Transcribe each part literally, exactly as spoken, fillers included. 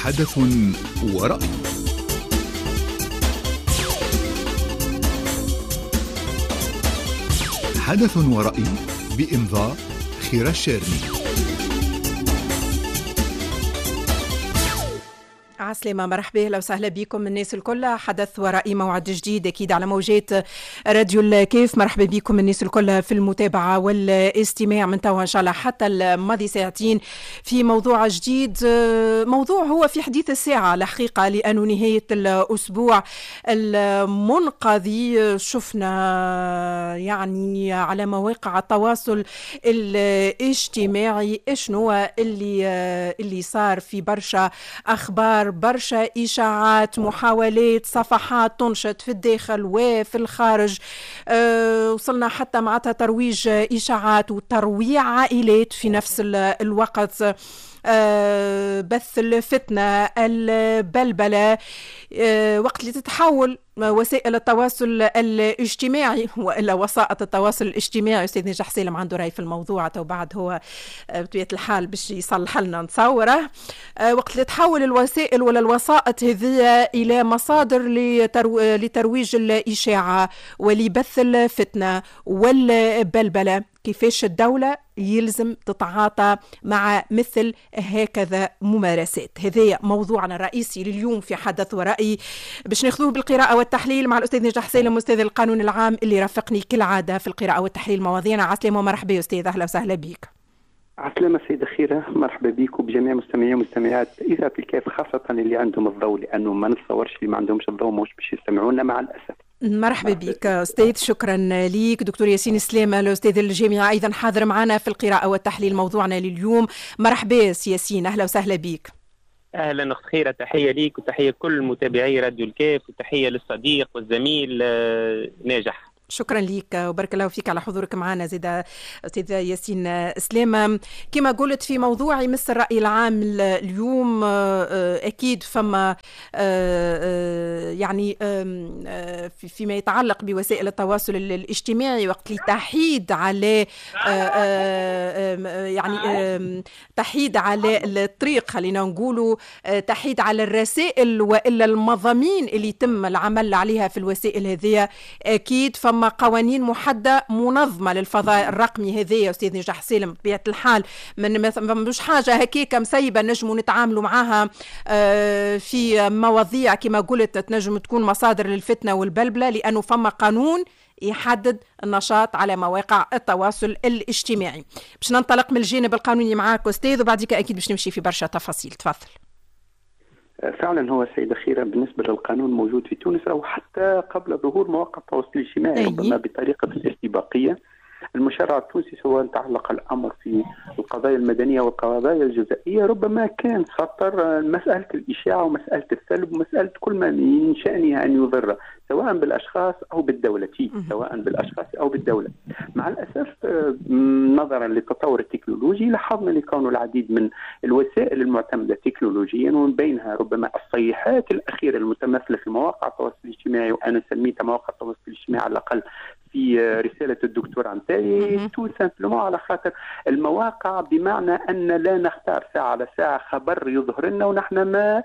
حدث ورأي. حدث ورأي بإمضاء خيرة الشارني. عسلامة، مرحبا، اهلا وسهلا بكم الناس الكل. حدث ورأي، موعد جديد اكيد على موجات راديو الكيف. مرحبا بكم الناس الكل في المتابعة والاستماع من توا ان شاء الله حتى الماضي ساعتين في موضوع جديد، موضوع هو في حديث الساعة الحقيقة، لأنه نهاية الأسبوع المنقضي شفنا يعني على مواقع التواصل الاجتماعي شنو اللي اللي صار في برشا أخبار، برشا إشاعات، محاولات، صفحات تنشط في الداخل وفي الخارج. أه وصلنا حتى معناتها ترويج إشاعات وترويع عائلات في نفس الوقت، أه بث الفتنة، البلبلة. أه وقت اللي تتحول وسائل التواصل الاجتماعي والا وسائط التواصل الاجتماعي، استاذ نجاح سالم عنده راي في الموضوع تو بعد هو بطبيعة الحال باش يصلح لنا نتصوره. وقت اللي تحول الوسائل ولا الوسائط هذه الى مصادر لترو... لترويج الاشاعة ولبث الفتنة والبلبله، كيفاش الدولة يلزم تتعاطى مع مثل هكذا ممارسات؟ هذا موضوعنا الرئيسي لليوم في حدث ورأي، باش ناخذوه بالقراءة والتحليل مع الأستاذ نجاح سالم أستاذ القانون العام اللي رافقني كالعادة في القراءة والتحليل مواضيعنا. عسلامة ومرحبا أستاذ، أهلا وسهلا بك. عسلامة سيدة خيرة، مرحبا بك وبجميع مستمعي ومستمعات إذاعة الكاف، خاصة اللي عندهم الضوء، لأنه ما نتصورش اللي ما عندهمش الضوء مش باش يستمعونا مع الأسف. مرحبا بك أستاذ، شكرا ليك. دكتور ياسين سلامة الأستاذ الجامعي أيضا حاضر معنا في القراءة والتحليل موضوعنا لليوم. مرحبا ياسين، أهلا وسهلا بك. أهلا أخت خيرة، تحية ليك وتحية كل متابعي راديو الكاف وتحية للصديق والزميل ناجح. شكرا لك وبارك الله فيك على حضورك معنا زيدا أستاذ ياسين سلامة. كما قلت في موضوع يمس الرأي العام اليوم، أكيد فما يعني فيما يتعلق بوسائل التواصل الاجتماعي وقت اللي تحيد على يعني تحيد على الطريق، خلينا نقولوا تحيد على الرسائل وإلا المضامين اللي يتم العمل عليها في الوسائل هذه، أكيد فما قوانين محددة منظمة للفضاء الرقمي هذايا يا أستاذ نجاح سالم. بطبيعة الحال من مش حاجة هكاكا مسيبة نجموا نتعاملوا معاها في مواضيع كما قلت تنجم تكون مصادر للفتنة والبلبلة، لأنه فما قانون يحدد النشاط على مواقع التواصل الاجتماعي. باش ننطلق من الجانب القانوني معاك أستاذ وبعدك أكيد باش نمشي في برشا تفاصيل. تفضل. فعلا هو سيدة خيرة، بالنسبة للقانون موجود في تونس أو حتى قبل ظهور مواقع التواصل الاجتماعي، ربما بطريقة الاستباقية. المشرع التونسي سواء تعلق الأمر في القضايا المدنية والقضايا الجزائية ربما كان خطر مسألة الإشاعة ومسألة السلب ومسألة كل ما من شأنها أن يضر سواء بالأشخاص أو بالدولة، سواء بالأشخاص أو بالدولة. مع الأسف نظرا للتطور التكنولوجي لاحظنا لكون العديد من الوسائل المعتمدة تكنولوجيا ومن بينها ربما الصيحات الأخيرة المتمثلة في مواقع التواصل الاجتماعي، وأنا سميتها مواقع التواصل الاجتماعي على الأقل في رسالة الدكتوراه نتاعي tout simplement على خاطر المواقع، بمعنى أن لا نختار ساعة على ساعة خبر يظهر لنا ونحن ما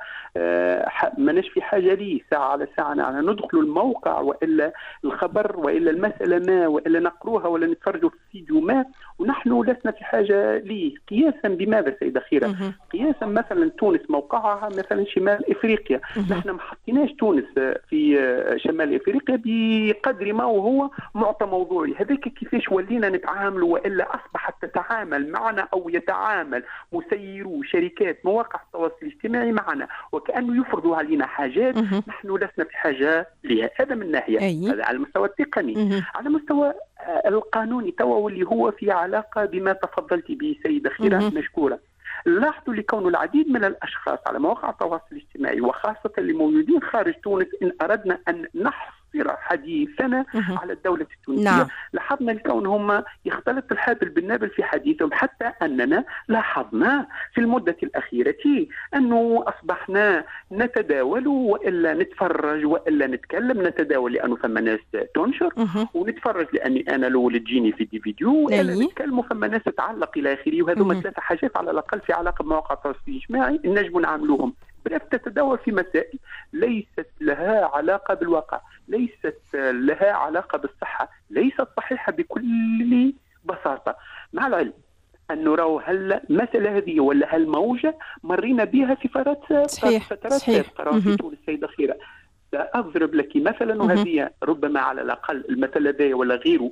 ماناش في حاجة ليه، ساعة على ساعة نحن ندخل الموقع وإلا الخبر وإلا المسألة ما وإلا نقروها ولا نتفرجوا في فيديو ما ونحن لسنا في حاجة ليه. قياسا بماذا سيدة خيرة؟ قياسا مثلا تونس موقعها مثلا شمال إفريقيا، نحن ما حطيناش تونس في شمال إفريقيا بقدر ما وهو معطى موضوعي. هذاك كيفاش ولينا نتعامل والا اصبحت تتعامل معنا او يتعامل مسيرو شركات مواقع التواصل الاجتماعي معنا وكانه يفرضوا علينا حاجات نحن لسنا في حاجة لها. هذا من ناحية، هذا على المستوى التقني. على المستوى القانوني توا واللي هو في علاقة بما تفضلت به سيده خيرة مشكورة، لاحظوا لكون العديد من الاشخاص على مواقع التواصل الاجتماعي وخاصة اللي موجودين خارج تونس، ان اردنا ان نحصر حديثنا على الدولة التونسية، نعم. لاحظنا الكون هم يختلط الحابل بالنابل في حديثهم، حتى أننا لاحظنا في المدة الأخيرة أنه أصبحنا نتداول وإلا نتفرج وإلا نتكلم. نتداول لأنه فما ناس تنشر، ونتفرج لأني أنا الأول تجيني في دي فيديو، وإلا نتكلم فما ناس تتعلق إلى آخره. وهذوما ثلاثة حاجات على الأقل في علاقة بمواقع التواصل الاجتماعي نجم نعملوهم bref تتداول في مسائل ليست لها علاقة بالواقع، ليست لها علاقة بالصحة، ليست صحيحة بكل بساطة. مع العلم أنه راهو هالمسألة هذه ولا هالموجة مرينا بها في فترات فترات سابقة في تونس السيدة خيرة. سأضرب لك مثلا، وهذه ربما على الأقل المثل هذا ولا غيره،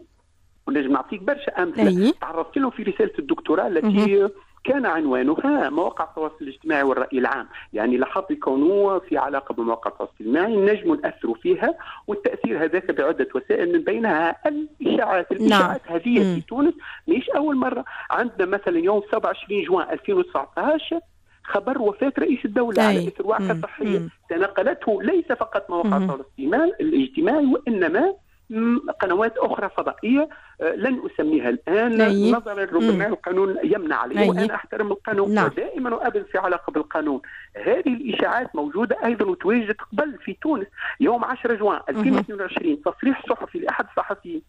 ونجم نعطيك برشا أمثلة تعرضت له في رسالة الدكتوراه التي كان عنوانها مواقع التواصل الاجتماعي والرأي العام. يعني لاحظت كونه في علاقة بمواقع التواصل الاجتماعي نجم نأثروا فيها، والتأثير هذاك بعدة وسائل من بينها الإشاعات. الإشاعات نعم. هذه في تونس مش أول مرة. عندنا مثلا يوم سبعة وعشرين جوان ألفين وتسعة عشر خبر وفاة رئيس الدولة على إثر وعكة صحية تناقلته ليس فقط مواقع التواصل الاجتماعي وإنما قنوات أخرى فضائية لن أسميها الآن أي. نظرا ربما القانون يمنع عليه، وأنا أحترم القانون نعم. ودائما وأبدا في علاقة بالقانون. هذه الإشاعات موجودة أيضا وتواجدت قبل في تونس. يوم عشرة جوان ألفين واثنين وعشرين تصريح صحفي لأحد الصحفيين،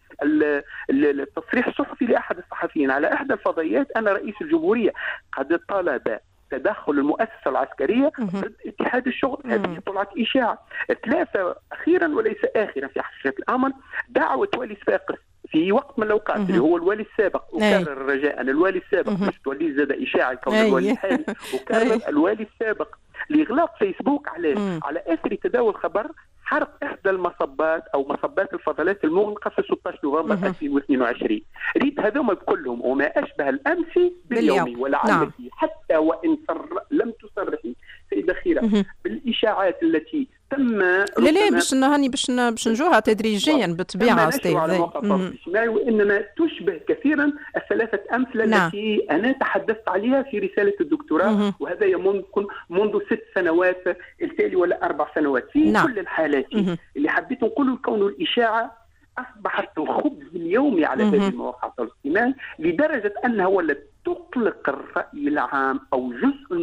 التصريح الصحفي لأحد الصحفيين على إحدى الفضائيات أن رئيس الجمهورية قد طلب تدخل المؤسسة العسكرية ضد اتحاد الشغل. هذه طلعت إشاعة. ثلاثة أخيرا وليس آخرا في حقيقة الأمر، دعوة والي صفاقس في وقت من الأوقات اللي هو الوالي السابق، أكرر رجاء الوالي السابق مش تولي زاد إشاعة كون الوالي الحالي، أكرر الوالي السابق لإغلاق فيسبوك على على آثر تداول خبر حرق إحدى المصبات أو مصبات الفضلات المغلقة في ستة عشر نوفمبر ألفين واثنين وعشرين. ريت هذوما كلهم وما أشبه الأمس باليوم، ولعلك نعم. حتى وإن صر... لم تصرحي سيدة خيرة بالإشاعات التي تم لا لا باش هاني باش باش نجوها تدريجيا بالطبيعة أستاذ على مواقع التواصل الاجتماعي، وإنما تشبه كثيرا الثلاثة أمثلة نعم. التي أنا تحدثت عليها في رسالة الدكتوراه، وهذا ممكن منذ ست سنوات التالي ولا أربع سنوات. في نعم. كل الحالات مم. اللي حبيت نقوله كون الإشاعة أصبحت الخبز اليومي على هذه المواقع التواصل الاجتماعي، لدرجة أنها ولت تقلق الرأي العام أو جزء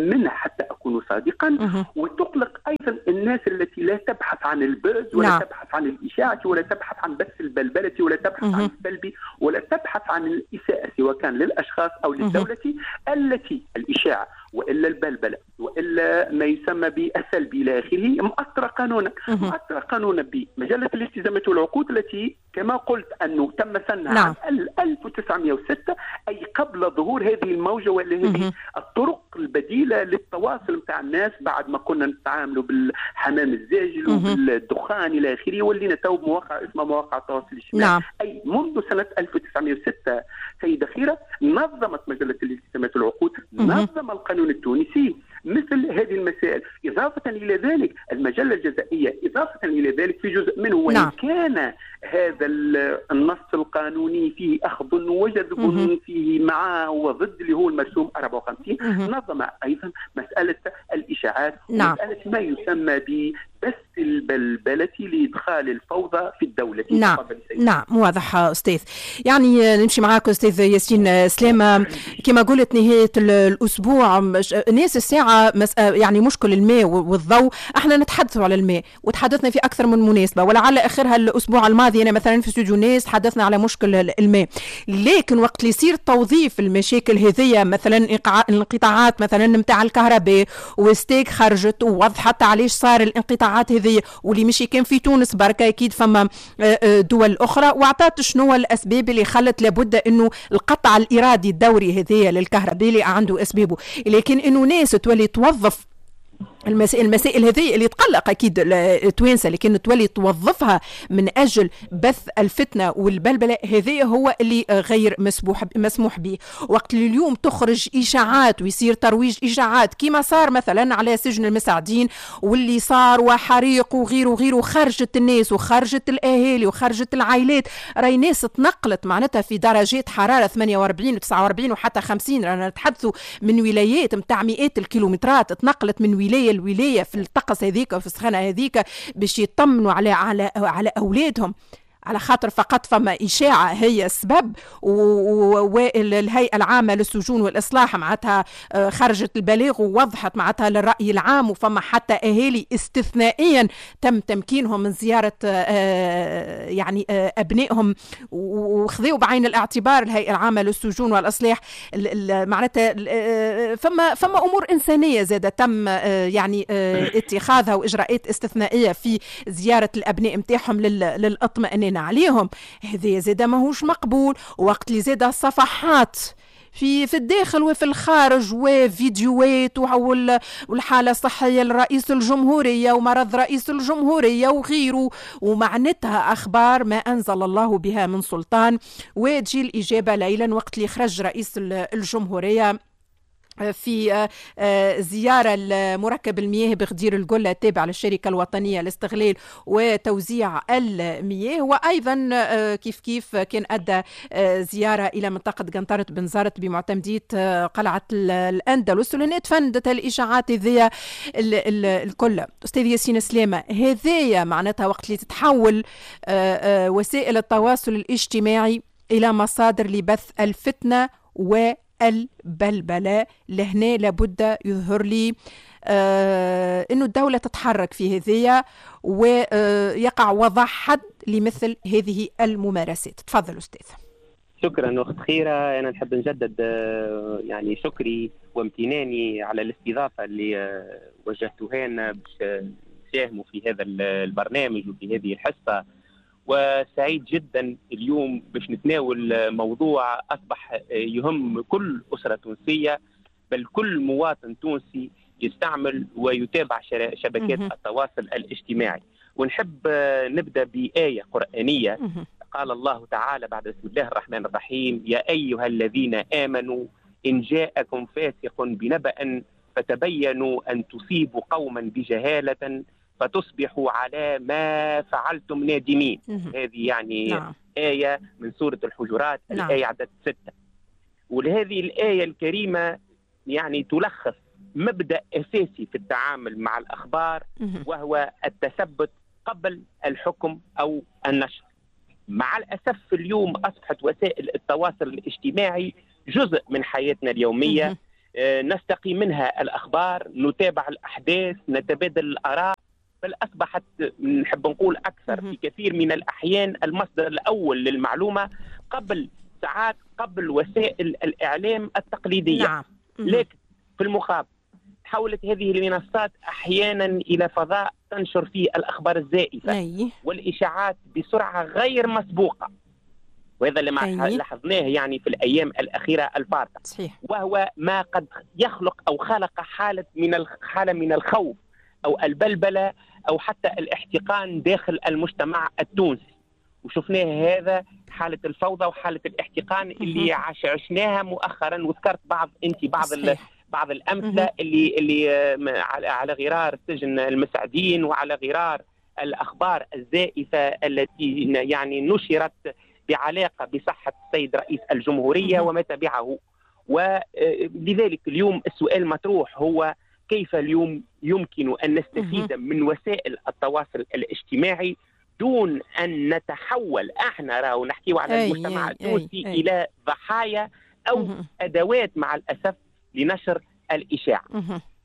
منه حتى أكون صادقا، وتقلق أيضا الناس التي لا تبحث عن ال buzz ولا نعم. تبحث عن الإشاعة ولا تبحث عن بث البلبلة ولا تبحث عن السلبي ولا تبحث عن الإساءة سواء كان للأشخاص أو للدولة التي الإشاعة وإلا البلبلة وإلا ما يسمى بالسلبي إلى آخره مؤثرة قانونا. مؤثرة قانونا بمجلة الالتزامات والعقود التي كما قلت أنه تم سنها نعم. عام ألف وتسعمئة وستة، أي قبل ظهور هذه الموجة ولا هذه الطرق البديلة للتواصل متاع الناس بعد ما كنا نتعاملوا بالحمام الزاجل وبالدخان إلى آخره، ولينا تو بمواقع اسمها مواقع التواصل الاجتماعي نعم. أي منذ سنة ألف وتسعمئة وستة سيدة خيرة نظمت مجلة الالتزامات والعقود، نظم القانون التونسي مثل هذه المسائل. إضافة إلى ذلك المجلة الجزائية، إضافة إلى ذلك في جزء منه وإن نعم. كان هذا النص القانوني فيه أخذ وجذب فيه معه وضد اللي هو المرسوم أربعة وخمسين، نظم أيضا مسألة الإشاعات نعم. ومسألة ما يسمى ببث البلبلة لإدخال الفوضى في الدولة. نعم نعم واضح أستاذ. يعني نمشي معاك أستاذ ياسين سلامة، كما قلت نهاية الأسبوع ناس الساعة يعني مشكل الماء والضوء، احنا نتحدث على الماء وتحدثنا في أكثر من مناسبة، ولعل آخرها الأسبوع الماضي أنا مثلا في استوديو ناس تحدثنا على مشكل الماء، لكن وقت اللي يصير توظيف المشاكل هذية مثلا الانقطاعات مثلا نتاع الكهرباء، وستيك خرجت ووضحت علاش صار الانقطاعات هذية، واللي مشي كان في تونس بركة أكيد فما دول أخرى، وأعطت شنو الأسباب اللي خلت لابد أنه القطع الإرادي الدوري هذية للكهرباء اللي عنده أسبابه، لكن أنه ناس تولي توظف المسائل المسائل هذه اللي تقلق اكيد التوانسة، لكن تولي توظفها من اجل بث الفتنة والبلبله، هذه هو اللي غير مسموح مسموح به. وقت اللي اليوم تخرج اشاعات ويصير ترويج اشاعات كما صار مثلا على سجن المساعدين واللي صار وحريق وغيره وغيره، خرجت الناس وخرجت الاهالي وخرجت العائلات، راي ناس تنقلت معناتها في درجات حرارة ثمانية وأربعين وتسعة وأربعين وحتى خمسين، رانا نتحدثوا من ولايات نتاع مئات الكيلومترات تنقلت من ولاية الولاية في الطقس هذيك وفي السخانه هذيك باش يطمنوا على على على اولادهم. على خاطر فقط فما إشاعة هي السبب، والهيئة العامة للسجون والإصلاح معناتها خرجت البلاغ ووضحت معناتها للرأي العام، وفما حتى أهالي استثنائيا تم تمكينهم من زيارة يعني أبنائهم، وخذوا بعين الاعتبار الهيئة العامة للسجون والإصلاح معناتها فما فما أمور إنسانية زادة تم يعني اتخاذها وإجراءات استثنائية في زيارة الأبناء متاعهم للإطمئنان عليهم. هذا زاد ماهوش مقبول. وقت اللي زاد الصفحات في في الداخل وفي الخارج وفيديوهات والحالة الصحية لرئيس الجمهورية ومرض رئيس الجمهورية وغيره، ومعناتها أخبار ما أنزل الله بها من سلطان. وتجي الإجابة ليلا وقت اللي خرج رئيس الجمهورية في زيارة لمركب المياه بغدير القلة التابع للشركة الوطنية لاستغلال وتوزيع المياه، وأيضا كيف كيف كان أدى زيارة إلى منطقة قنطرة بنزرت بمعتمدية قلعة الأندلس، ولهنا تفندت الإشاعات ذي الكل. أستاذ ياسين سلامة، هذايا معناتها وقت اللي تتحول وسائل التواصل الاجتماعي إلى مصادر لبث الفتنة و البلبلة، لهنا لابد يظهر لي آه أنه الدولة تتحرك في هذه ويقع وضع حد لمثل هذه الممارسات. تفضل أستاذ. شكرا أخت خيرة، أنا نحب نجدد يعني شكري وامتناني على الاستضافة اللي وجهتوها لنا باش نساهموا في هذا البرنامج وفي هذه الحصة، وسعيد جدا اليوم باش نتناول موضوع أصبح يهم كل أسرة تونسية، بل كل مواطن تونسي يستعمل ويتابع شبكات التواصل الاجتماعي. ونحب نبدأ بآية قرآنية قال الله تعالى بعد بسم الله الرحمن الرحيم: يا أيها الذين آمنوا إن جاءكم فاسق بنبأ فتبينوا أن تصيبوا قوما بجهالة فتصبحوا على ما فعلتم نادمين. هذه يعني نعم. آية من سورة الحجرات، نعم. الآية عدد ستة. ولهذه الآية الكريمة يعني تلخص مبدأ أساسي في التعامل مع الأخبار، وهو التثبت قبل الحكم أو النشر. مع الأسف اليوم أصبحت وسائل التواصل الاجتماعي جزء من حياتنا اليومية، نستقي منها الأخبار، نتابع الأحداث، نتبادل الآراء، بل أصبحت نحب نقول أكثر في كثير من الأحيان المصدر الأول للمعلومة قبل ساعات قبل وسائل الإعلام التقليدية. نعم. لكن في المقابل تحولت هذه المنصات أحيانا إلى فضاء تنشر فيه الأخبار الزائفة أي. والإشاعات بسرعة غير مسبوقة، وهذا اللي لاحظناه يعني في الأيام الأخيرة الفارطة. صحيح. وهو ما قد يخلق أو خلق حالة من حالة من الخوف أو البلبلة أو حتى الاحتقان داخل المجتمع التونسي، وشفناه هذا حالة الفوضى وحالة الاحتقان اللي عش عشناها مؤخرا، وذكرت بعض أنت بعض بعض الأمثلة اللي اللي على غرار سجن المسعدين وعلى غرار الأخبار الزائفة التي يعني نشرت بعلاقة بصحة السيد رئيس الجمهورية وما تبعه. ولذلك اليوم السؤال مطروح هو كيف اليوم يمكن أن نستفيد من وسائل التواصل الاجتماعي دون أن نتحول احنا راهو نحكيو على المجتمع التونسي إلى ضحايا أو أدوات مع الأسف لنشر الإشاعة.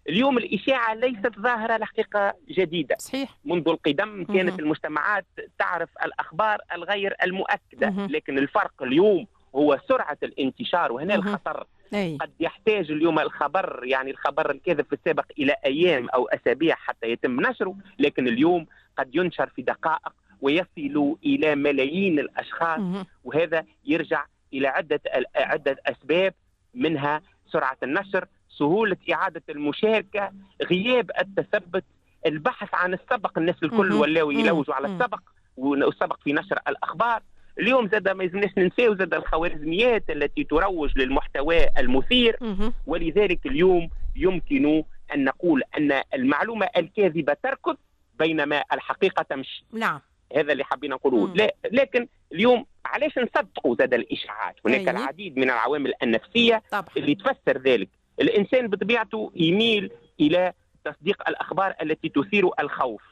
اليوم الإشاعة ليست ظاهرة الحقيقة جديدة. صحيح. منذ القدم كانت المجتمعات تعرف الأخبار الغير المؤكدة، لكن الفرق اليوم هو سرعة الانتشار، وهنا الخطر. أي. قد يحتاج اليوم الخبر يعني الخبر الكاذب في السابق إلى أيام أو أسابيع حتى يتم نشره، لكن اليوم قد ينشر في دقائق ويصل إلى ملايين الأشخاص. وهذا يرجع إلى عدة عدة أسباب، منها سرعة النشر، سهولة إعادة المشاركة، غياب التثبت، البحث عن السبق، الناس الكل ولاو يلوجوا على السبق والسبق في نشر الأخبار. اليوم زاد ما يلزمناش ننساو زاد الخوارزميات التي تروج للمحتوى المثير. ولذلك اليوم يمكن أن نقول أن المعلومة الكاذبة تركض بينما الحقيقة تمشي. نعم. هذا اللي حابين نقوله. لا، لكن اليوم علاش نصدقوا زاد الإشاعات؟ هناك أيه. العديد من العوامل النفسية طبعا. اللي تفسر ذلك. الإنسان بطبيعته يميل إلى تصديق الأخبار التي تثير الخوف.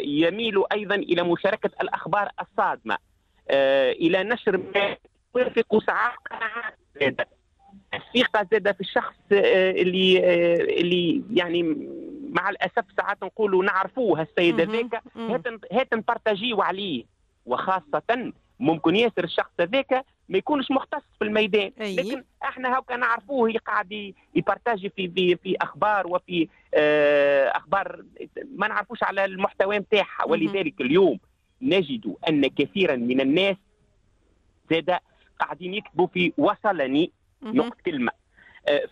يميل أيضا إلى مشاركة الأخبار الصادمة، إلى نشر ما يوافق ساعات قناعات زادة. الثقة زادة في الشخص اللي اللي يعني مع الأسف ساعات نقولوا نعرفوه السيد هذاك، هات نبارتاجيو عليه، وخاصة ممكن ياسر الشخص هذاك ما يكونش مختص في الميدان. أي. لكن احنا هاكا نعرفوه قاعد يبارتاجي في في في اخبار وفي اخبار ما نعرفوش على المحتوى نتاعها. ولذلك اليوم نجد ان كثيرا من الناس زاد قاعدين يكتبوا في وصلني نقط كلمة،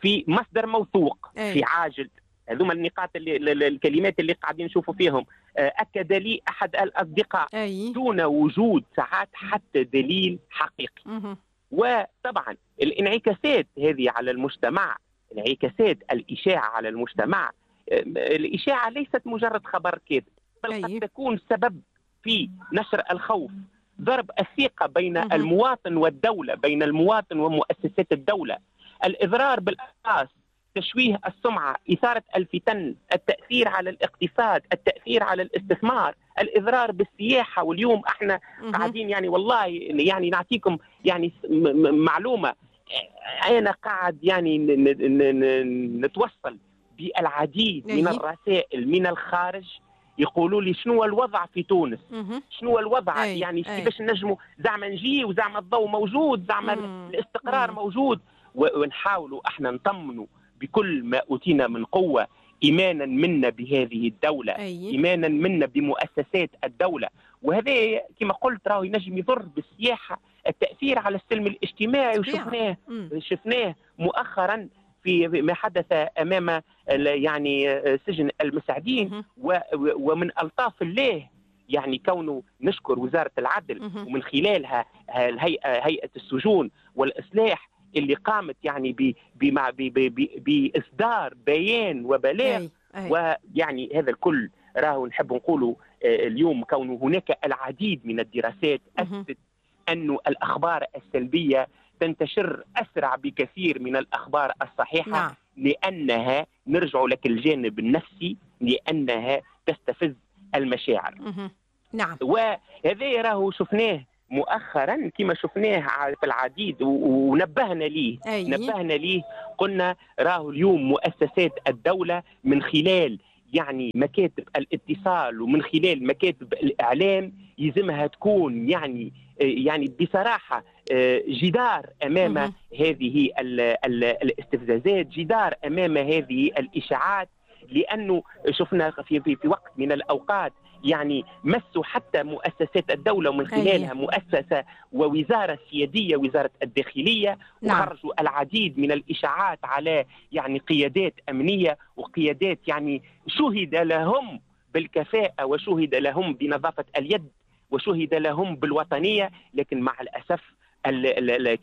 في مصدر موثوق. أي. في عاجل، هذوما النقاط اللي الكلمات اللي قاعدين نشوفوا فيهم. أكد لي أحد الأصدقاء. أي. دون وجود ساعات حتى دليل حقيقي. مه. وطبعا الانعكاسات هذه على المجتمع، انعكاسات الإشاعة على المجتمع، الإشاعة ليست مجرد خبر كاذب، بل أي. قد تكون سبب في نشر الخوف، ضرب الثقة بين مه. المواطن والدولة، بين المواطن ومؤسسات الدولة، الإضرار بالأشخاص، تشويه السمعة، إثارة الفتن، التأثير على الاقتصاد، التأثير على الاستثمار، الإضرار بالسياحة. واليوم احنا قاعدين يعني والله يعني نعطيكم يعني معلومة، أنا قاعد يعني نتوصل بالعديد من الرسائل من الخارج يقولوا لي شنو الوضع في تونس، شنو الوضع، يعني كيفاش نجموا زعما نجي وزعما الضوء موجود، زعما الاستقرار موجود، ونحاولوا احنا نطمنوا بكل ما أوتينا من قوة، إيمانا منا بهذه الدولة. أي. إيمانا منا بمؤسسات الدولة. وهذا كما قلت راهو ينجم يضر بالسياحة، التأثير على السلم الاجتماعي، وشفناه شفناه مؤخرا في ما حدث أمام يعني سجن المساعدين. ومن ألطاف الله يعني كونه نشكر وزارة العدل ومن خلالها الهيئة هيئة السجون والإصلاح اللي قامت يعني بمع بإصدار بيان وبلاغ. ويعني هذا الكل راهو نحب نقوله اليوم كونه هناك العديد من الدراسات أثبتت أن الأخبار السلبية تنتشر أسرع بكثير من الأخبار الصحيحة. نعم. لأنها نرجع لك الجانب النفسي، لأنها تستفز المشاعر. نعم. وهذا راهو شفناه مؤخرا كما شفناه في العديد ونبهنا ليه. أي. نبهنا ليه، قلنا راهو اليوم مؤسسات الدولة من خلال يعني مكاتب الاتصال ومن خلال مكاتب الإعلام يلزمها تكون يعني يعني بصراحة جدار أمام مه. هذه ال ال الاستفزازات، جدار أمام هذه الإشاعات، لأنه شفنا في, في, في وقت من الأوقات يعني مسوا حتى مؤسسات الدولة ومن خلالها مؤسسة ووزارة سيادية، وزارة الداخلية. نعم. وخرجوا العديد من الإشاعات على يعني قيادات أمنية وقيادات يعني شهد لهم بالكفاءة وشهد لهم بنظافة اليد وشهد لهم بالوطنية، لكن مع الأسف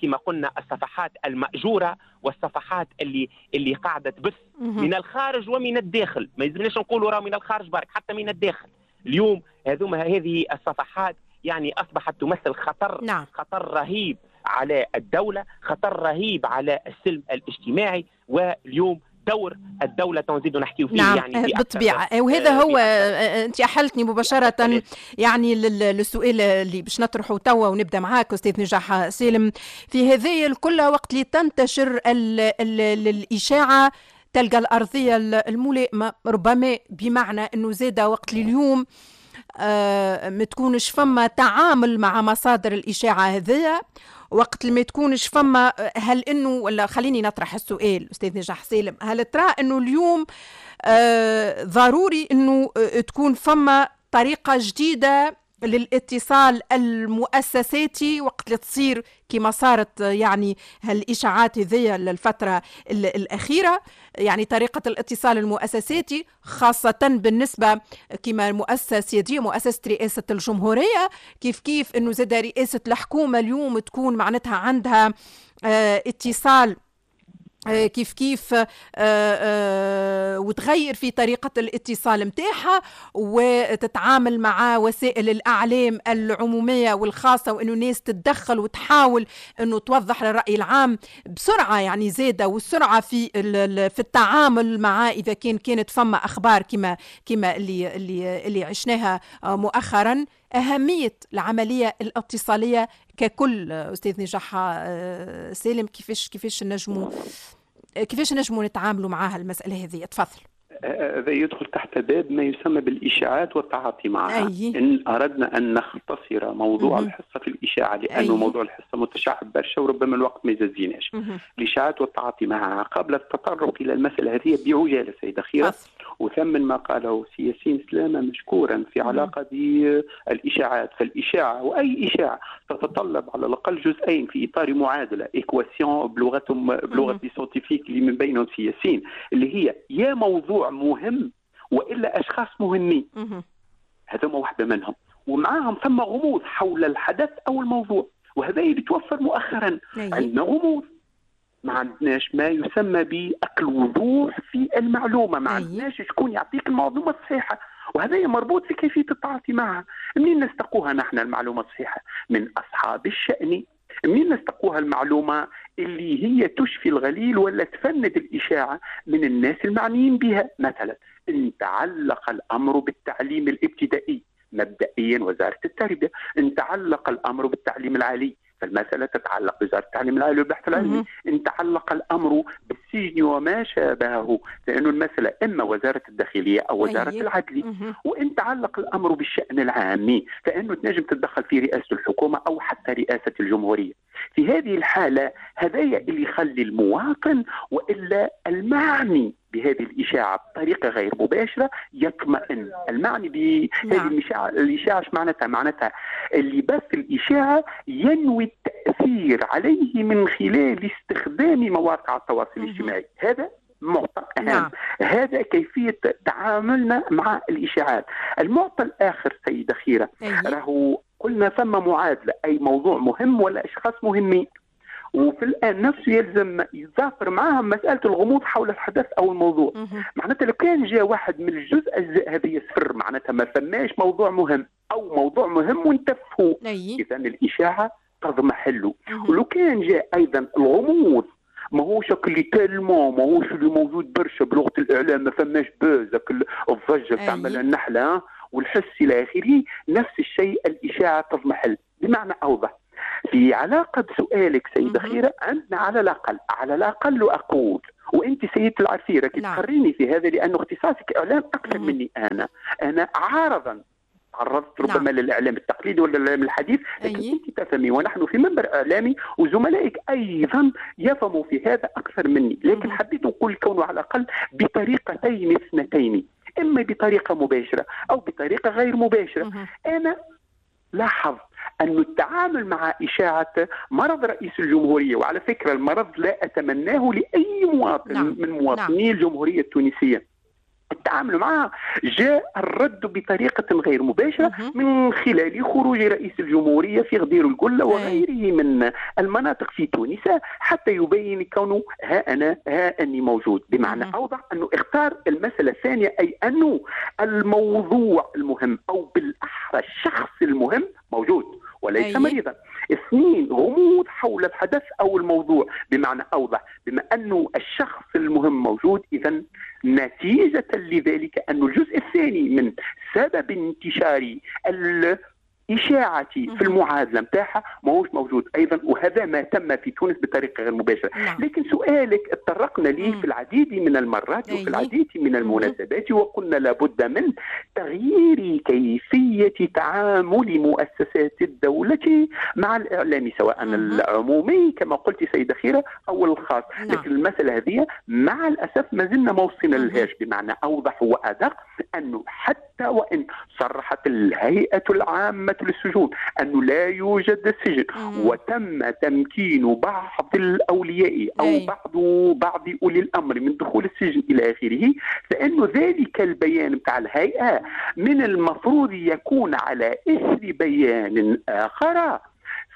كما قلنا الصفحات المأجورة والصفحات اللي اللي قاعدة تبث من الخارج ومن الداخل، ما يلزمناش نقولوا راه من الخارج برك، حتى من الداخل. اليوم هذوما هذه الصفحات يعني أصبحت تمثل خطر. نعم. خطر رهيب على الدولة، خطر رهيب على السلم الاجتماعي. واليوم دور الدولة تنزيد نحكي فيه. نعم. يعني بالطبيعة، وهذا هو أنت أحلتني مباشرة يعني للسؤال اللي باش نطرحه توا ونبدأ معاك أستاذ نجاح سالم. في هذه الكل وقت اللي تنتشر ال ال الإشاعة تلقى الأرضية الملائمة، ربما بمعنى أنه زاد وقت اليوم آه ما تكونش فما تعامل مع مصادر الإشاعة هذية، وقت اللي ما تكونش فما، هل أنه ولا خليني نطرح السؤال أستاذ نجاح سالم، هل ترى أنه اليوم آه ضروري أنه تكون فما طريقة جديدة للاتصال المؤسساتي وقت اللي تصير كما صارت يعني هالإشاعات هذية للفترة الأخيرة، يعني طريقة الاتصال المؤسساتي خاصة بالنسبة كما المؤسسة السيادية مؤسسة رئاسة الجمهورية، كيف كيف أنه زاد رئاسة الحكومة اليوم تكون معناتها عندها اه اتصال كيف كيف وتغير في طريقة الاتصال متاعها وتتعامل مع وسائل الأعلام العمومية والخاصة، وأنه الناس تتدخل وتحاول أنه توضح للرأي العام بسرعة يعني زادة، والسرعة في في التعامل مع إذا كان كانت فما أخبار كما كما اللي اللي اللي عشناها مؤخرا. أهمية العملية الاتصالية ككل أستاذ نجاح سالم، كيفاش كيفاش نجموا كيفاش نجموا نتعاملوا معها المسألة هذه؟ تفضل. هذا يدخل تحت باب ما يسمى بالإشاعات والتعاطي معها. أي. إن أردنا أن نختصر موضوع مم. الحصة في الإشاعة، لأنه أي. موضوع الحصة متشعب برشا وربما الوقت ما يزيناش. الإشاعات والتعاطي معها قبل التطرق إلى المسألة هذه بعجالة سيدة خيرة، وثمن ما قاله سي ياسين سلامة مشكورا في علاقة بالإشاعات. فالإشاعة وأي إشاعة تتطلب على الأقل جزئين في إطار معادلة équation بلغتهم بلغة scientifiques اللي من بينهم سي ياسين، اللي هي يا موضوع مهم وإلا أشخاص مهمين، هذوما واحدة منهم، ومعاهم ثم غموض حول الحدث أو الموضوع، وهذا اللي توفر مؤخرا. عندنا غموض، ما عندناش ما يسمى بالوضوح في المعلومة، ما عندناش شكون يعطيك المعلومة الصحيحة، وهذا مربوط في كيفية التعاطي معها. منين نستقوها نحن المعلومة الصحيحة؟ من أصحاب الشأن. منين نستقوها المعلومة اللي هي تشفي الغليل ولا تفند الإشاعة؟ من الناس المعنيين بها. مثلا إن تعلق الأمر بالتعليم الابتدائي مبدئيا وزارة التربية، إن تعلق الأمر بالتعليم العالي فالمسألة تتعلق بوزارة التعليم العالي والبحث العلمي، إن تعلق الأمر بالسجن وما شابهه لأنه المسألة إما وزارة الداخلية أو وزارة أيه. العدل، وإن تعلق الأمر بالشأن العام فإنه تنجم تتدخل في رئاسة الحكومة أو حتى رئاسة الجمهورية. في هذه الحالة هذايا اللي يخلي المواطن وإلا المعني بهذه الإشاعة بطريقة غير مباشرة يطمئن. المعني بهذه نعم. الإشاعة، الإشاعة معناتها معناتها اللي بث الإشاعة ينوي التأثير عليه من خلال استخدام مواقع التواصل الاجتماعي. هذا معطى أهم. نعم. هذا كيفية تعاملنا مع الإشاعات. المعطى الآخر سيدة خيرة، راهو قلنا ثم معادلة، أي موضوع مهم ولا أشخاص مهمين، وفي الآن نفسه يلزم يتظافر معهم مسألة الغموض حول الحدث أو الموضوع. معناتها لو كان جاء واحد من الجزء أجزاء هذه صفر، معناتها ما فماش موضوع مهم أو موضوع مهم وانتفه، إذا الإشاعة تضمحله. ولو كان جاء أيضا الغموض ما هوش اللي tellement، ما هوش اللي موجود برشا بلغة الإعلام، ما فماش buzz الضجة تعمل النحلة والحس إلى آخره، نفس الشيء الإشاعة تضمحل. بمعنى أوضح في علاقة بسؤالك سيدة خيرة، عندنا على الأقل على الأقل أقول، وأنت سيدة العرفية راكي تقريني في هذا لأنه اختصاصك إعلام أكثر مني. أنا أنا عارضا تعرضت ربما نعم. للإعلام التقليدي ولا الإعلام الحديث، لكن أنت تفهمي ونحن في منبر إعلامي وزملائك أيضا يفهموا في هذا أكثر مني، لكن حبيت نقول كونه على الأقل بطريقتين اثنتين، إما بطريقة مباشرة أو بطريقة غير مباشرة. أنا لاحظت أن التعامل مع إشاعة مرض رئيس الجمهورية، وعلى فكرة المرض لا أتمناه لأي مواطن نعم. من مواطني نعم. الجمهورية التونسية، التعامل معها جاء الرد بطريقة غير مباشرة من خلال خروج رئيس الجمهورية في غدير القلة وغيره من المناطق في تونس حتى يبين كونه ها أنا ها أني موجود. بمعنى أوضح أنه اختار المسألة الثانية، أي أنه الموضوع المهم أو بالأحرى الشخص المهم موجود وليس أي. مريضا. اثنين، غموض حول الحدث أو الموضوع. بمعنى أوضح بما أنه الشخص المهم موجود، إذن نتيجة لذلك أن الجزء الثاني من سبب انتشار الإشاعة في المعادلة متاعها ماهوش موجود أيضا، وهذا ما تم في تونس بطريقة غير مباشرة. نعم. لكن سؤالك اتطرقنا ليه في العديد من المرات وفي العديد من المناسبات، وقلنا لابد من تغيير كيفية تعامل مؤسسات الدولة مع الإعلام، سواء العمومي كما قلت سيدة خيرة أو الخاص. نعم. لكن المسألة هذه مع الأسف ما زلنا ما وصلنا لهاش. بمعنى أوضح وأدق أنه حتى وإن صرحت الهيئة العامة للسجون أنه لا يوجد سجن، وتم تمكين بعض الأولياء أو أي. بعض بعض أولي الأمر من دخول السجن إلى آخره، فإنه ذلك البيان بتاع الهيئة من المفروض يكون على إثر بيان آخر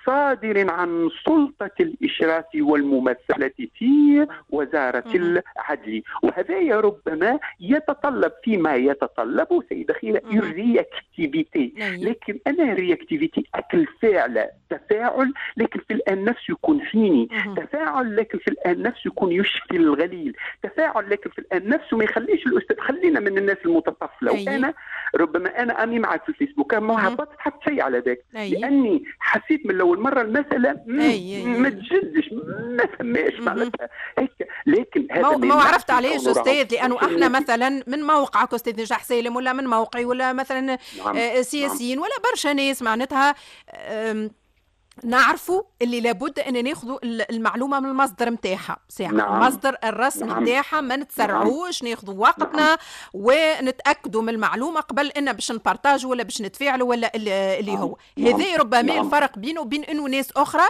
صادر عن سلطة الإشراف والممثلة في وزارة العدل. وهذا ربما يتطلب فيما يتطلب سيدة خيرة réactivité، لكن أنا réactivité أكل فعل تفاعل، لكن في الآن نفسه يكون حيني تفاعل، لكن في الآن نفسه يكون يشفي الغليل تفاعل، لكن في الآن نفسه ما يخليش الأستاذ. خلينا من الناس المتطفلة، وأنا ربما أنا أني معك في الفيسبوك ما هبطت حتى شيء على ذاك، لأني حسيت من أول مرة المسألة ما تجدش، ما فماش معناتها هيك. لكن هذا ما عرفت علاش أستاذ، لأنه احنا مثلا من موقعك أستاذ نجاح سالم، ولا من موقعي، ولا مثلا نعم. سياسيين، ولا برشا ناس معناتها نعرفوا اللي لابد ان ناخذوا المعلومة من المصدر نتاعها، ساعة نعم. المصدر الرسمي نتاعها، ما نتسرعوش، نعم. ناخذوا وقتنا نعم. ونتاكدوا من المعلومة قبل ان باش نبارتاجوا ولا باش نتفاعلوا ولا اللي, اللي هو نعم. هذا ربما نعم. الفرق بينه وبين انه ناس اخرى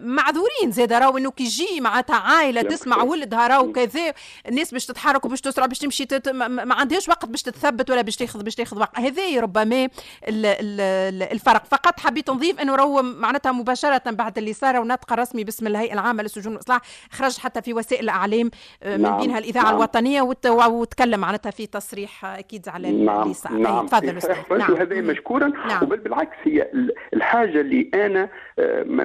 معذورين زاد، راهو انه كي يجي معناتها عائلة تسمع ولدها راهو كذا، الناس باش تتحرك وباش تسرع باش تمشي تت... ما عندهاش وقت باش تتثبت ولا باش تاخذ باش تاخذ وقت. هذا ربما الفرق. فقط حبيت نضيف انه راهو معناتها مباشرة بعد اللي صار ونطق رسمي باسم الهيئة العامة للسجون والاصلاح، خرج حتى في وسائل الاعلام من نعم. بينها الاذاعة نعم. الوطنية وت... وتكلم معناتها في تصريح اكيد على نعم. اللي صار. نعم. تفضل استاذ. نعم. وهذا مشكورا نعم. وبل بالعكس هي الحاجة اللي انا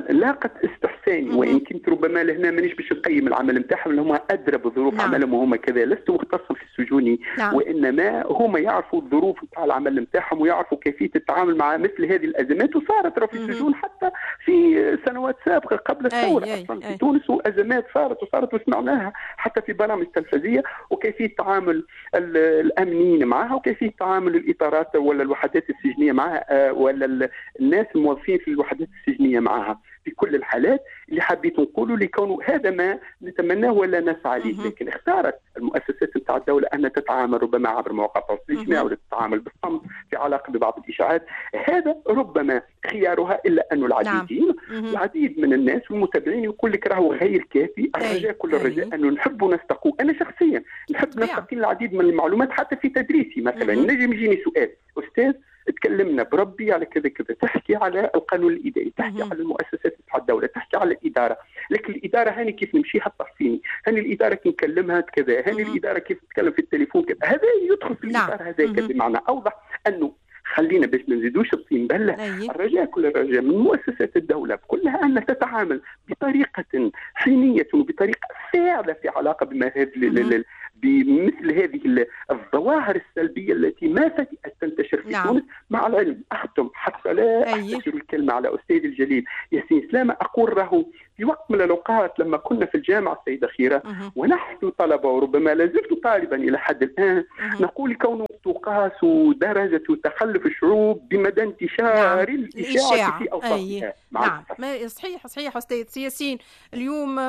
لاقت استحساني، وان كنت ربما لهنا مانيش باش نقيم العمل نتاعهم، اللي هما ادرى بظروف نعم. عملهم وهما كذا، لست مختصا في السجون نعم. وانما هما يعرفوا الظروف نتاع العمل نتاعهم ويعرفوا كيفية التعامل مع مثل هذه الازمات، وصارت في السجون حتى في سنوات سابقه قبل الثورة اصلا في تونس، وازمات صارت وصارت وسمعناها حتى في برامج تلفزيونية، وكيفية تعامل الامنيين معها، وكيفية تعامل الاطارات ولا الوحدات السجنيه معها، ولا الناس الموظفين في الوحدات السجنيه معها. في كل الحالات اللي حبيت نقوله لكونه هذا ما نتمناه ولا نسعى ليه، لكن اختارت المؤسسات نتاع الدولة أن تتعامل ربما عبر مواقع التواصل الاجتماعي ولا تتعامل بالصمت في علاقة ببعض الإشاعات، هذا ربما خيارها. إلا أن العديدين نعم. العديد من الناس والمتابعين يقول لك راهو غير كافي. الرجاء كل الرجاء أنه نحب نستقوا، أنا شخصيا نحب نستقي العديد من المعلومات حتى في تدريسي مثلا. نجم يجيني سؤال أستاذ تكلمنا بربي على كذا كذا، تحكي على القانون الاداري، تحكي على المؤسسات تاع الدولة، تحكي على الادارة، لكن الادارة هاني كيف نمشيها تحصيني، هاني الادارة كي نكلمها كذا، هاني الادارة كيف تتكلم في التليفون كذا، هذا يدخل في الاطار هذاك. بمعنى اوضح انه خلينا باش ما نزيدوش الطين بله، الرجاء كل الرجاء من مؤسسات الدولة كلها ان تتعامل بطريقة حينيه وبطريقة فاعله في علاقة بما هذه بمثل هذه الظواهر السلبية التي ما فتئت تنتشر في نعم. تونس. مع العلم اختم حتى لا احتشر الكلمة على استاذ الجليل ياسين سلامه، اقول له في وقت من الاوقات لما كنا في الجامعة السيدة خيره ونحن طلبه وربما لازلت طالبا الى حد الان، نقول كونه تقاس درجه تخلف الشعوب بمدى انتشار نعم. الاشاعة في اوساطها. نعم صحيح صحيح استاذ ياسين. اليوم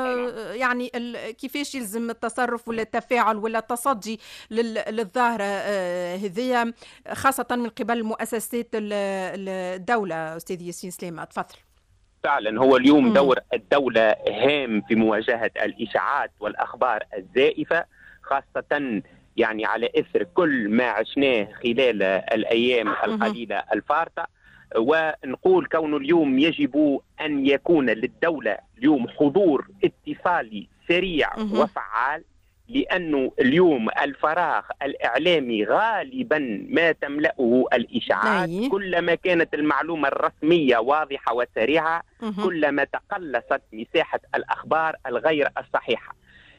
يعني كيفاش يلزم التصرف ولا التفاعل ولا التصدي للظاهره هذه خاصة من قبل مؤسسات الدولة؟ استاذ ياسين سلامه تفضل. فعلا هو اليوم دور الدولة هام في مواجهة الإشاعات والأخبار الزائفة، خاصة يعني على إثر كل ما عشناه خلال الأيام القليلة الفارطة. ونقول كون اليوم يجب أن يكون للدولة اليوم حضور اتصالي سريع وفعال، لأنه اليوم الفراغ الإعلامي غالبا ما تملأه الإشاعات. أي. كلما كانت المعلومة الرسمية واضحة وسريعة كلما تقلصت مساحة الأخبار الغير الصحيحة.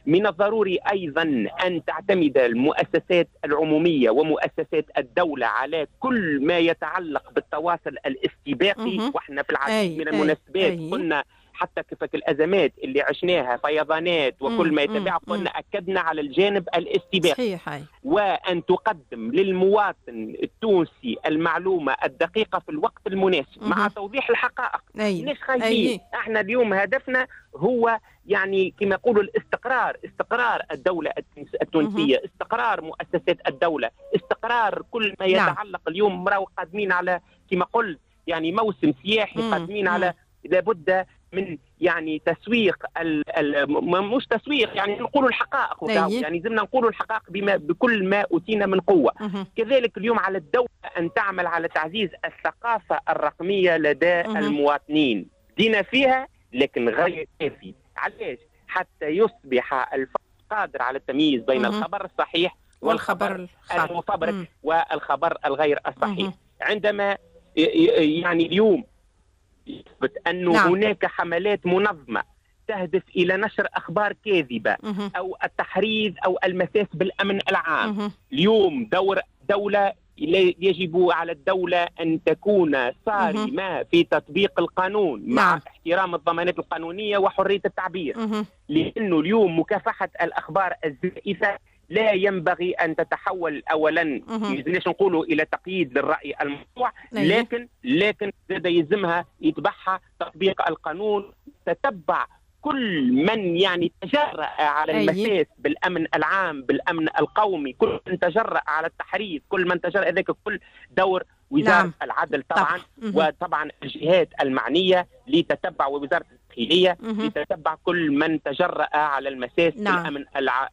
من الضروري أيضا أن تعتمد المؤسسات العمومية ومؤسسات الدولة على كل ما يتعلق بالتواصل الاستباقي. وإحنا في العديد من المناسبات قلنا حتى كيف الأزمات اللي عشناها فيضانات وكل ما يتبع قلنا أكدنا على الجانب الاستباقي. صحيح. وأن تقدم للمواطن التونسي المعلومة الدقيقة في الوقت المناسب مع توضيح الحقائق. ليش خايفين؟ احنا اليوم هدفنا هو يعني كما يقولوا الاستقرار، استقرار الدولة التونسية، استقرار مؤسسات الدولة، استقرار كل ما يتعلق. اليوم راهو قادمين على كما قلت يعني موسم سياحي، قادمين على لابد من يعني تسويق ال ال مش تسويق، يعني نقولوا الحقائق، يعني لازمنا نقولوا الحقائق بما بكل ما أوتينا من قوة. كذلك اليوم على الدولة أن تعمل على تعزيز الثقافة الرقمية لدى المواطنين، دينا فيها لكن غير كافي. علاش؟ حتى يصبح الفرد قادر على التمييز بين الخبر الصحيح والخبر المفبرك والخبر الغير الصحيح. عندما يعني اليوم يثبت أنه نعم. هناك حملات منظمة تهدف إلى نشر أخبار كاذبة أو التحريض أو المساس بالأمن العام، اليوم دور دولة يجب على الدولة أن تكون صارمة في تطبيق القانون مع نعم. احترام الضمانات القانونية وحرية التعبير، لأنه اليوم مكافحة الأخبار الزائفة لا ينبغي أن تتحول أولا ليش نقولوا إلى تقييد للرأي الموضوع، لكن لكن زاد يلزمها يتبعها تطبيق القانون، تتبع كل من يعني تجرأ على المساس بالأمن العام بالأمن القومي، كل من تجرأ على التحريض، كل من تجرأ، ذاك كل دور وزارة نعم. العدل طبعا طب. وطبعا الجهات المعنية لتتبع، ووزارة الداخلية لتتبع كل من تجرأ على المساس نعم. بالأمن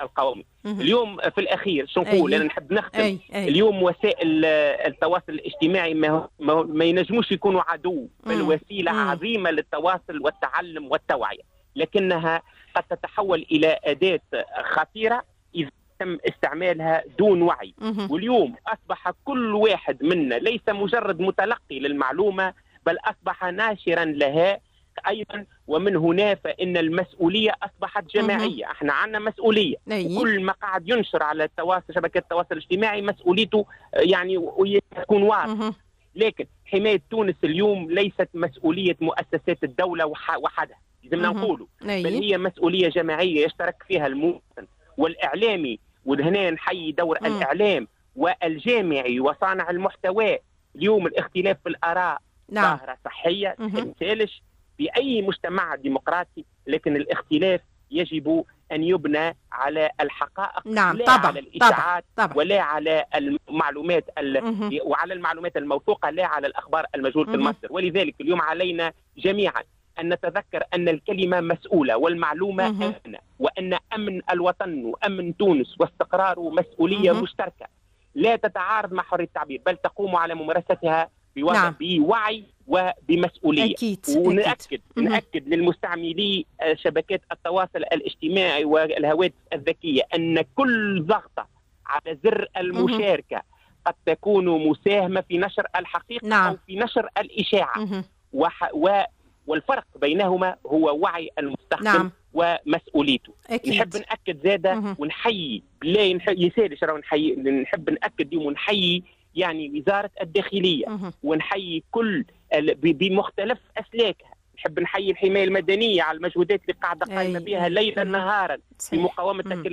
القومي. مم. اليوم في الأخير شو نقول؟ أنا نحب نختم. أي. أي. اليوم وسائل التواصل الاجتماعي ما, ما, ما ينجموش يكونوا عدو، بل وسيلة مم. عظيمة للتواصل والتعلم والتوعية، لكنها قد تتحول إلى أداة خطيرة إذا تم استعمالها دون وعي. واليوم أصبح كل واحد منا ليس مجرد متلقي للمعلومة، بل أصبح ناشرا لها أيضا، ومن هنا فإن المسؤولية أصبحت جماعية. احنا عندنا مسؤولية، وكل ما قاعد ينشر على التواصل شبكات التواصل الاجتماعي مسؤوليته يعني تكون واضحة. لكن حماية تونس اليوم ليست مسؤولية مؤسسات الدولة وحدها، لازمنا نقولوا، بل هي مسؤولية جماعية يشترك فيها المواطن والإعلامي، وهنا نحيي دور مم. الإعلام والجامعي وصانع المحتوى. اليوم الاختلاف في الآراء نعم. ظاهرة صحية تنسالش في أي مجتمع ديمقراطي، لكن الاختلاف يجب أن يبنى على الحقائق، نعم. لا طبعا. على الإشاعات طبعا. ولا على المعلومات ال... وعلى المعلومات الموثوقة، لا على الأخبار المجهولة المصدر. ولذلك اليوم علينا جميعا أن نتذكر أن الكلمة مسؤولة والمعلومة أمنة، وأن أمن الوطن وأمن تونس واستقراره مسؤولية مه. مشتركة لا تتعارض مع حرية التعبير، بل تقوم على ممارستها نعم. بوعي وبمسؤولية. أكيد. ونأكد أكيد. نأكد للمستعملي شبكات التواصل الاجتماعي والهواتف الذكية أن كل ضغطة على زر المشاركة قد تكون مساهمة في نشر الحقيقة نعم. أو في نشر الإشاعة، وح... و... والفرق بينهما هو وعي المستخدم نعم. ومسؤوليته. أكيد. نحب نأكد زادة ونحيي لا يسالش راهو نحيي، نحب نأكد اليوم ونحيي يعني وزارة الداخلية مه. ونحيي كل بمختلف أسلاكها، نحب نحيي الحماية المدنية على المجهودات اللي قاعدة قايمة بها ليلا نهارا في مقاومة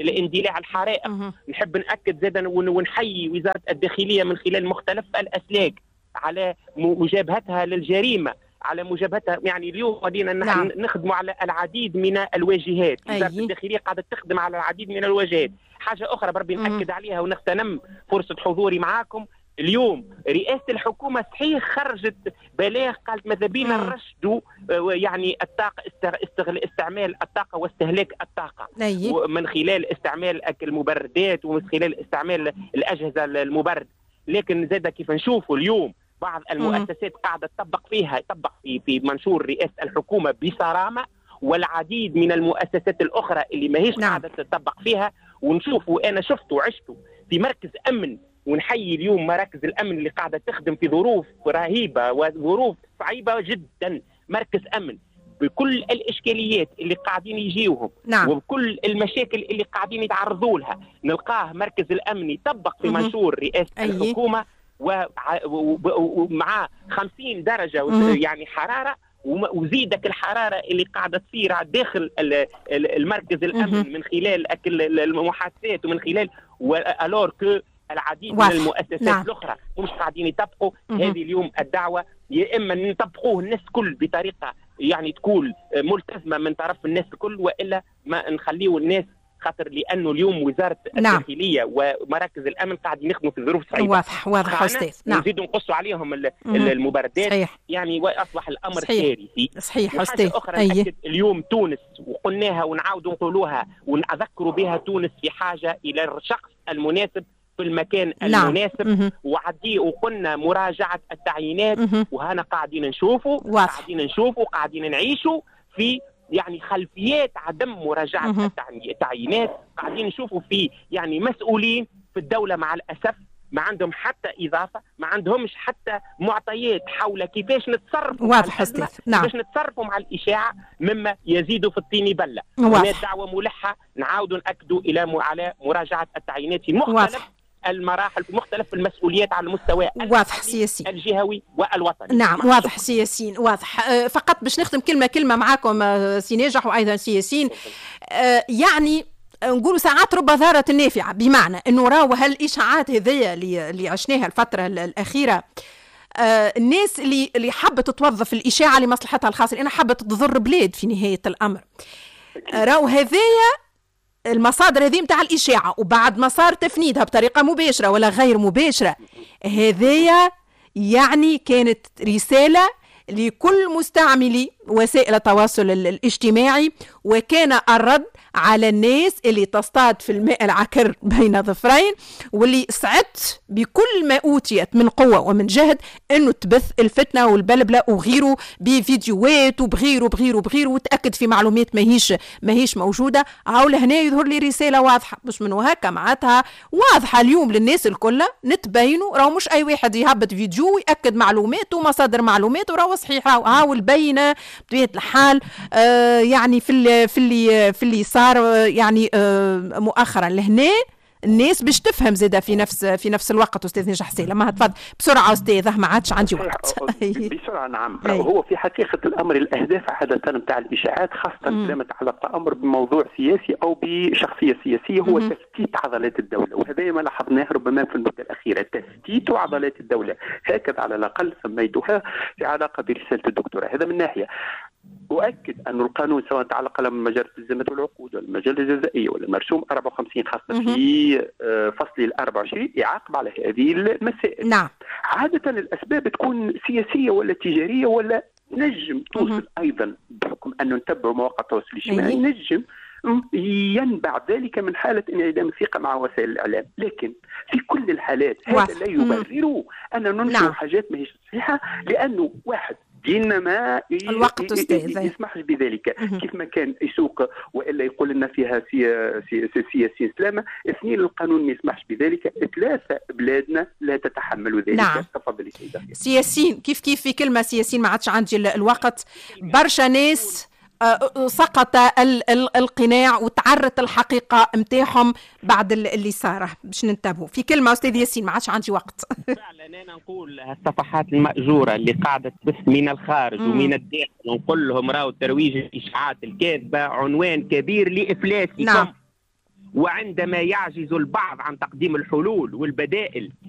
الاندلاع الحرائق. مه. نحب نأكد زادة ونحيي وزارة الداخلية من خلال مختلف الأسلاك على مجابهتها للجريمة، على مجابهتها. يعني اليوم غادينا نعم. نخدموا على العديد من الواجهات، وزارة الداخلية قاعدة تخدم على العديد من الواجهات. حاجة أخرى بربي نأكد عليها ونغتنم فرصة حضوري معاكم اليوم، رئاسة الحكومة صحيح خرجت بلاغ قالت ماذا بينا نرشدوا يعني الطاقة، استعمال الطاقة واستهلاك الطاقة من خلال استعمال المبردات ومن خلال استعمال الأجهزة المبردة، لكن زاد كيف نشوفوا اليوم بعض المؤسسات قاعدة تطبق فيها، تطبق في في منشور رئاسة الحكومة بصرامة، والعديد من المؤسسات الأخرى اللي ماهيش نعم. قاعدة تطبق فيها. ونشوفوا، أنا شفت وعشت في مركز أمن، ونحيي اليوم مراكز الأمن اللي قاعدة تخدم في ظروف رهيبة وظروف صعيبة جدا، مركز أمن بكل الإشكاليات اللي قاعدين يجيوهم نعم. وبكل المشاكل اللي قاعدين يتعرضوا لها، نلقاه مركز الأمن يطبق في منشور رئاسة أيه. الحكومة ومع خمسين درجة يعني حرارة، وزيدك الحرارة اللي قاعدة تصير داخل المركز الأمن من خلال المحادثات ومن خلال alors que العديد من المؤسسات نعم. الأخرى مش قاعدين يطبقوا. هذه اليوم الدعوة يا إما نطبقوه الناس كل بطريقة يعني تكون ملتزمة من طرف الناس الكل، وإلا ما نخليه الناس خاطر لانه اليوم وزارة نعم. الداخلية ومراكز الامن قاعدين يخدموا في ظروف صعيبة. واضح واضح استاذ. نعم. نزيدوا نقصوا عليهم المبردات. صحيح. يعني واصبح الامر كارثي. صحيح استاذ. اخرى أيه. اليوم تونس وقلناها ونعاودوا نقولوها ونذكروا بها، تونس في حاجة الى الشخص المناسب في المكان نعم. المناسب. وعدي وقلنا مراجعه التعيينات، وهنا قاعدين نشوفوا قاعدين نشوفوا قاعدين نعيشوا في يعني خلفيات عدم مراجعه التعيينات، قاعدين نشوفوا في يعني مسؤولين في الدولة مع الاسف ما عندهم حتى اضافه، ما عندهمش حتى معطيات حول كيفاش نتصرفوا. واضح استاذ. نعم. كيفاش نتصرفوا مع الاشاعة مما يزيد في الطين بله. هناك دعوه ملحة نعاودوا ناكدوا الى على مراجعه التعيينات في مختلف واضح. المراحل، في مختلف المسؤوليات على المستوى واضح سي الجهوي والوطني. نعم واضح سي ياسين، واضح. أه فقط باش نختم كلمة كلمة معاكم سي ناجح وايضا سي ياسين. أه يعني نقولوا ساعات رب ضارة نافعة، بمعنى انه راهو هالاشاعات هذيا اللي اللي عشناها الفترة الاخيرة، آه الناس اللي اللي حبت توظف الاشاعة لمصلحتها الخاصة، لانها حبت تضر بلاد في نهاية الامر، راهو هذايا المصادر هذه نتاع الاشاعة وبعد ما صار تفنيدها بطريقة مباشرة ولا غير مباشرة، هذايا يعني كانت رسالة لكل مستعملي وسائل التواصل الاجتماعي، وكان الرد على الناس اللي تصطاد في الماء العكر بين ظفرين، واللي سعت بكل ما أوتيت من قوة ومن جهد أنه تبث الفتنة والبلبلة وغيره بفيديوهات وبغيره وبغيره وبغيره، وتأكد في معلومات ماهيش ماهيش موجودة. هاو لهنا يظهر لي رسالة واضحة، مش من هكا معناتها واضحة اليوم للناس الكل، نتبينوا راهو مش أي واحد يهبط فيديو ويأكد معلومات ومصادر معلومات وراهو صحيح، راهو هاو البينة بطبيعة الحال. آه يعني في اللي في اللي في اللي صار يعني آه مؤخرا لهنا الناس باش تفهم زاده في نفس في نفس الوقت. استاذ نجح سالم ما تفضل بسرعة استاذه، ما عادش عندي وقت. بسرعة نعم. هو في حقيقة الامر الاهداف عادة نتاع الاشاعات خاصة لما يتعلق الامر بموضوع سياسي او بشخصية سياسية هو مم. تفتيت عضلات الدولة، وهذا ما لاحظناه ربما في المدة الاخيرة، تفتيت عضلات الدولة هكذا على الاقل سميتها في علاقة برسالة الدكتوراه. هذا من ناحية. أؤكد أن القانون سواء تعلق له بمجلة الالتزامات والعقود ولا المجلة الجزائية ولا المرسوم أربعة وخمسين خاصة في فصل ال أربعة وعشرين يعاقب على هذه المسائل. نعم. عادة الأسباب تكون سياسية ولا تجارية ولا نجم توصل أيضا بحكم أنه نتبع مواقع التواصل الاجتماعي نجم ينبع ذلك من حالة انعدام الثقة مع وسائل الإعلام، لكن في كل الحالات هذا لا يبرر أن ننشر نعم. حاجات ما هيش صحيحة، لأنه واحد ديننا ما الوقت أستاذ يسمحش بذلك. كيف ما كان يسوق والا يقول لنا فيها سي سي سي سي سلامه، اثنين القانون ما يسمحش بذلك، ثلاثة بلادنا لا تتحمل ذلك. نعم. تفضلي سيدة سياسيين كيف كيف في كلمة سياسيين ما عادش عندي الوقت. برشا ناس سقط القناع وتعرت الحقيقة متاعهم بعد اللي صار، باش ننتبهوا في كلمة أستاذ ياسين ما عادش عندي وقت. فعلا أنا نقول الصفحات المأجورة اللي قاعدة تبث من الخارج مم. ومن الداخل نقول لهم راهو ترويج الإشاعات الكاذبة عنوان كبير لإفلاسكم. نعم. وعندما يعجز البعض عن تقديم الحلول والبدائل